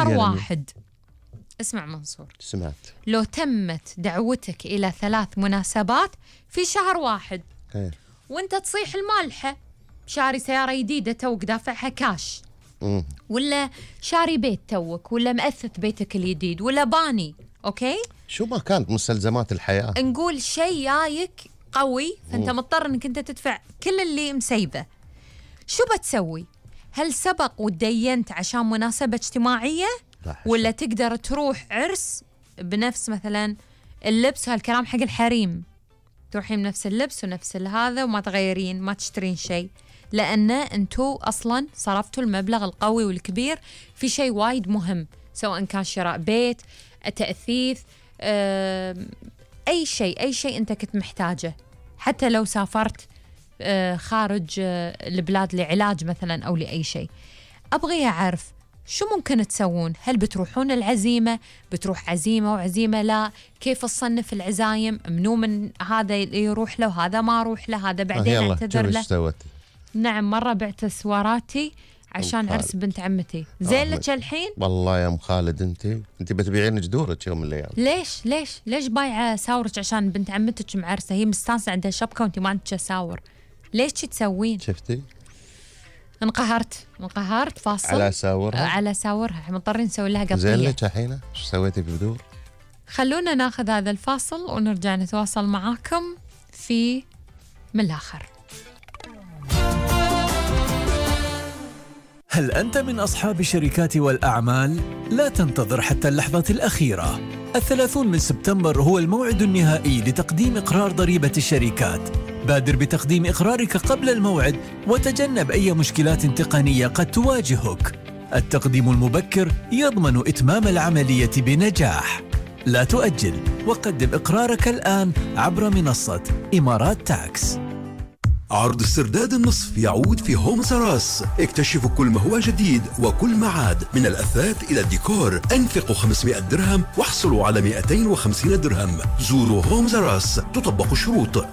شهر واحد. اسمع منصور، سمعت. لو تمت دعوتك إلى 3 مناسبات في شهر واحد وانت تصيح المالحة، شاري سيارة جديدة توك دافعها كاش، ولا شاري بيت توك، ولا مأثث بيتك الجديد، ولا باني، أوكي؟ شو ما كانت مستلزمات الحياة، نقول شيء جايك قوي، فأنت مضطر أنك أنت تدفع كل اللي مسيبه. شو بتسوي؟ هل سبق ودينت عشان مناسبة اجتماعية، ولا تقدر تروح عرس بنفس مثلا اللبس، هالكلام حق الحريم، تروحين بنفس اللبس ونفس هذا وما تغيرين، ما تشترين شيء، لأن أنتو أصلا صرفتوا المبلغ القوي والكبير في شيء وايد مهم، سواء كان شراء بيت، تأثيث، أي شيء أنت كنت محتاجه، حتى لو سافرت خارج البلاد لعلاج مثلا أو لأي شيء. أبغي أعرف شو ممكن تسوون؟ هل بتروحون العزيمة؟ بتروح عزيمة وعزيمة لا؟ كيف تصنف العزايم؟ منو من هذا يروح له، هذا ما أروح له، هذا بعدين اعتذر له. سوت؟ نعم، مرة بعت سواراتي عشان عرس بنت عمتي. زين لك الحين؟ والله يا أم خالد أنت بتبيعين جدورك يوم من الأيام. ليش بايعة ساورك عشان بنت عمتك معرسة؟ هي مستانسة عندها شبكة وأنت ما عندك ساور، ليش تسوين؟ شفتي؟ انقهرت فاصل على ساورها مضطرين نسوي لها قطية. زين لك الحين شو سويتي ببدور؟ خلونا ناخذ هذا الفاصل ونرجع نتواصل معاكم في من الآخر. هل أنت من أصحاب الشركات والأعمال؟ لا تنتظر حتى اللحظة الأخيرة. 30 من سبتمبر هو الموعد النهائي لتقديم إقرار ضريبة الشركات. بادر بتقديم إقرارك قبل الموعد وتجنب أي مشكلات تقنية قد تواجهك. التقديم المبكر يضمن إتمام العملية بنجاح. لا تؤجل وقدم إقرارك الآن عبر منصة إمارات تاكس. عرض استرداد النصف يعود في هومز راس. اكتشفوا كل ما هو جديد وكل ما عاد، من الأثاث إلى الديكور. انفقوا 500 درهم واحصلوا على 250 درهم. زوروا هومز راس، تطبق الشروط.